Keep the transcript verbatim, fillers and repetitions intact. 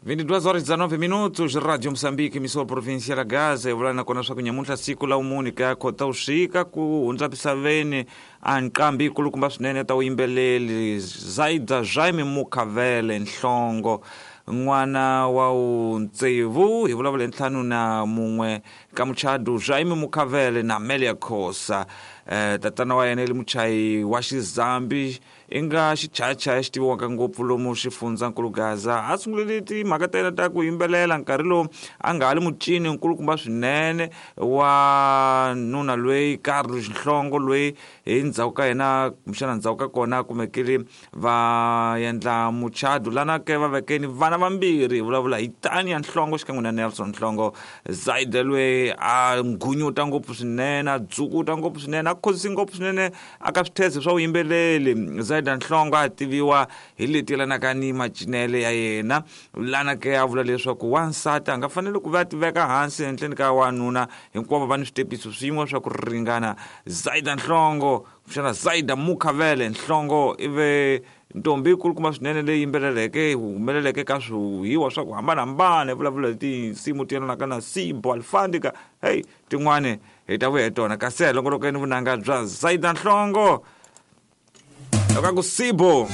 vinte e duas horas e dezenove minutos, Rádio Moçambique, emissora provincial ya Gaza, hi vula nakona swa ku nyamuntlha siku la vumune ka Khotavuxika ku hundza misaveni a nqambi yikulukumba swinene ta vuyimbeleri Zaida Jaime Mukhavele Nhlongo, n'wana wa tsevu, hi vulavula hi ntlhanu na mun'we ka muchadu Jaime Mukhavele na Amelia Khosa. Eh, tatana wa yena i muchayi wa xizambi i nga xichayachaya xi tiviwaka ngopfu lomu xifundzankulu Gaza. A sungulile timhaka ta yena ta ku yimbelela nkarhi lowu a nga ha li mucini nkulukumba swinene wa nuna loyi Carlos Nhlongo, loyi hi ndzhaku ka yena kumbexana ndzhaku ka kona a kumekile va endla muchadu lana ke va vekeni vana vambirhi, hi vulavula hi Tania Nhlongo xikan'we na Nelson Nhlongo. Zaida loyi a ngunyuta ngopfu swinene, a dzukuta ngopfu swinene, a khozisi ngopfu swinene aka switheze swa vuyimbeleri. Zaida Nhlongo a tiviwa hi leti yelanaka ni macinelo ya yena, lana ke a vula leswaku wansati a nga faneli ku va a tiveka hansi henhleni ka wanuna, hinkwavo va ni switepiso swin'we swa ku ringana. Zaida Nhlongo kumbexana Zaida Mukhavele Nhlongo i ve ntombi yikulukumba swinene leyi yimbeleleke humeleleke ka swihiwa swa ku hambanahambana, hi vulavula hi tinsimu ti yelanaka na Sibo Alfandika, hey tin'wani hi ta vuya hi tona. Kasi hi longolokeni vunanga bya Zaida Nhlongo loko a ku Sibo.